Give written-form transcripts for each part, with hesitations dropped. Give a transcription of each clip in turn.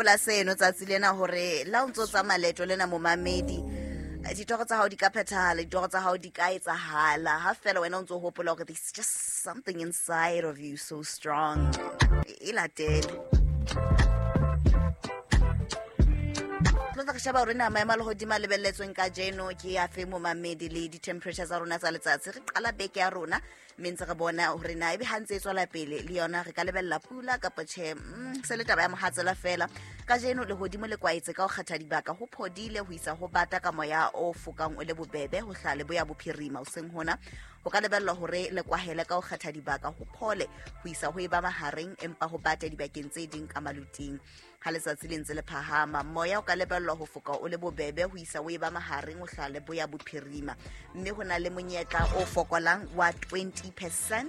Hopola seno tsatsi lena hore la o ntso tsamaya leeto lena, momamedi, ditoro tsa hao di ka phethahala, ditoro tsa hao di ka etsahala ha fela wena o ntso hopola hore there's just something inside of you so strong. E latele. Tlo tla re sheba hore na maemo a lehodimo a lebelletsweng kajeno ke afe, momamedi, le di-temperature tsa rona tsa letsatsi. Re qala beke ya rona mme ntse re bona hore na ebe ha ntse e tswela pele le yona re ka lebella pula kapa tjhe. Se le taba ya mohatsela fela. Kajeno lehodimo le kwaetse ka ho kgetha dibaka, ho phodile ho isa ho bata ka moya o fokang o le bobebe ho hlaha leboya bophirima. Hoseng hona ho ka lebellwa hore le kwahele ka ho kgetha dibaka, ho phole ho isa ho eba mahareng, empa ho bate dibakeng tse ding ka maluting. Ha letsatsi le ntse le phahama, moya o ka lebellwa ho foka o le bobebe ho isa o eba mahareng ho hlaha leboya bophirima, mme ho na le monyetla o fokolang wa 20%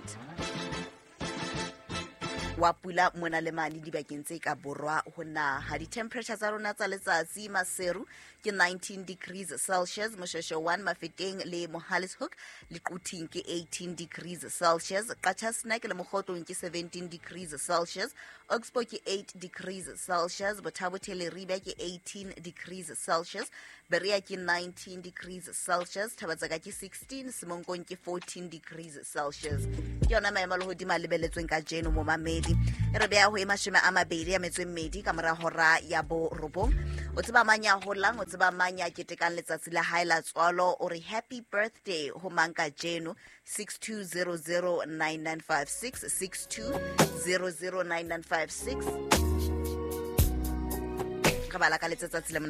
wa pula mona le mane dibakeng tse ka borwa ho naha. Di-temperature tsa rona tsa letsatsi: Maseru ke 19 degrees Celsius, Moshweshwe 1, Mafeteng le Mohale's Hoek le Quthing ke 18 degrees Celsius, Qacha's Nek le Mokhotlong ke 17 degrees Celsius, Oxbow ke 8 degrees Celsius, Botha-Bothe Leribe ke 18 degrees Celsius, Berea ke 19 degrees Celsius, Thabatsaka ke 16, Semonkong ke 14 degrees Celsius. Ke yona maemo a lehodimo a lebelletsweng kajeno, momamedi. E re beha ho e 28 ka mora hora ya 9. O tseba mang ya holang? O tseba mang ya ketekang letsatsi la hae la tswalo? O re happy birthday ho mang kajeno? 62009956, 62009956. Re bala ka letsatsi le.